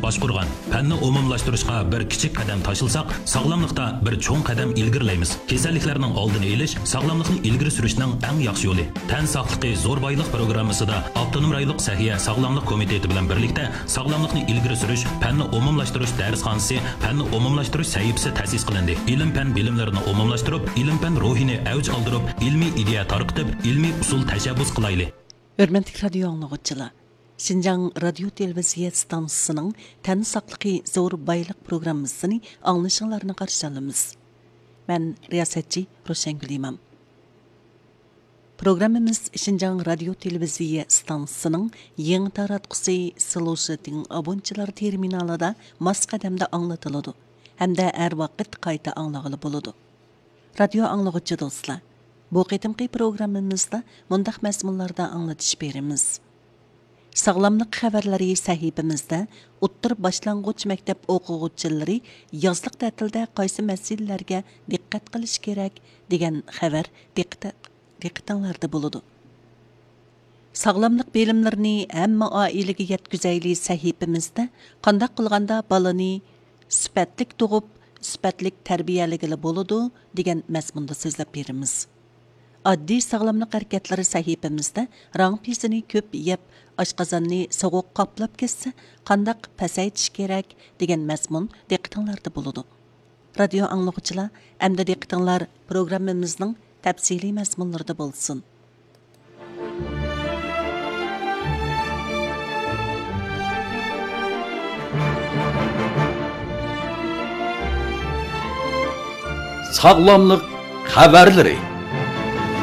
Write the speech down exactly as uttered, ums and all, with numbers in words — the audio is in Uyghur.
باشقۇرغان پەننى ئومۇملاشتۇرۇشقا بىر كىچىك قەدەم تاشلىساق، ساغلاملىقتا بىر چوڭ قەدەم ئىلگىرىلەيمىز. كېسەللىكلەرنىڭ ئالدىنى ئېلىش، ساغلاملىقنى ئىلگىرى سۈرۈشنىڭ ئەڭ ياخشى يولى. تەن ساقلىقى زور بايلىق پروگراممىسىدا ئاپتونوم رايونلۇق سەھىيە ساغلاملىق كومىتېتى بىلەن بىرلىكتە ساغلاملىقنى ئىلگىرى سۈرۈش، پەننى ئومۇملاشتۇرۇش دەرسخانىسى، پەننى ئومۇملاشتۇرۇش سەھىپىسى تەسىس قىلىندى. ئىلىم-پەن بىلىملىرىنى ئومۇملاشتۇرۇپ، ئىلىم-پەن روھىنى ئەۋج ئالدۇرۇپ، ئىلمىي ئىدىيە تارقىتىپ، ئىلمىي ئۇسۇل تەشەببۇس قىلايلى. ھۆرمەتلىك رادىيو ئاڭلىغۇچىلار! شىنجاڭ رادىيو تېلېۋىزىيە ئىستانسىسىنىڭ تەن ساقلىقى زور بايلىق پروگراممىسىنى ئاڭلىشىڭلارنى قارشى ئالىمىز. مەن رىياسەتچى روشەنگۈل ئىمام. پروگراممىمىز شىنجاڭ رادىيو تېلېۋىزىيە ئىستانسىسىنىڭ يېڭى تاراتقۇسى سلوشىتىڭ ئابونچىلار تېرمىنالىدا ماس قەدەمدە ئاڭلىتىلىدۇ ھەمدە ھەر ۋاقىت قايتا ئاڭلىغىلى بولىدۇ. رادىيو ئاڭلىغۇچى دوستلار، بۇ قېتىمقى پروگراممىمىزدا مۇنداق مەزمۇنلاردا ئاڭلىتىش بېرىمىز. ساغلاملىق خەۋەرلىرى سەھىپىمىزدە ئوتتۇرا باشلانغۇچ مەكتەپ ئوقۇغۇچىلىرى يازلىق تەتىلدە قايسى مەسىلىلەرگە دىققەت قىلىش كېرەك دېگەن خەۋەر دىققىتە-، دىققىتىڭلاردا بولىدۇ. ساغلاملىق بىلىملىرىنى ھەممە ئائىلىگە يەتكۈزەيلى سەھىپىمىزدە قانداق قىلغاندا بالىنى سۈپەتلىك تۇغۇپ، سۈپەتلىك تەربىيەلىگىلى بولىدۇ دېگەن مەزمۇندا سۆزلەپ بېرىمىز. ئاددىي ساغلاملىق ھەرىكەتلىرى سەھىپىمىزدە راڭ پىزىنى كۆپ يەپ، ئاشقازاننى سوغۇق قاپلاپ كەتسە، قانداق پەسەيتىش كېرەك دېگەن مەزمۇن دىققىتىڭلاردا بولىدۇ. رادىيو ئاڭلىغۇچىلار، ئەمدى دىققىتىڭلار پروگراممىمىزنىڭ تەپسىلىي مەزمۇنلىرىدا بولسۇن. ساغلاملىق خەۋەرلىرى.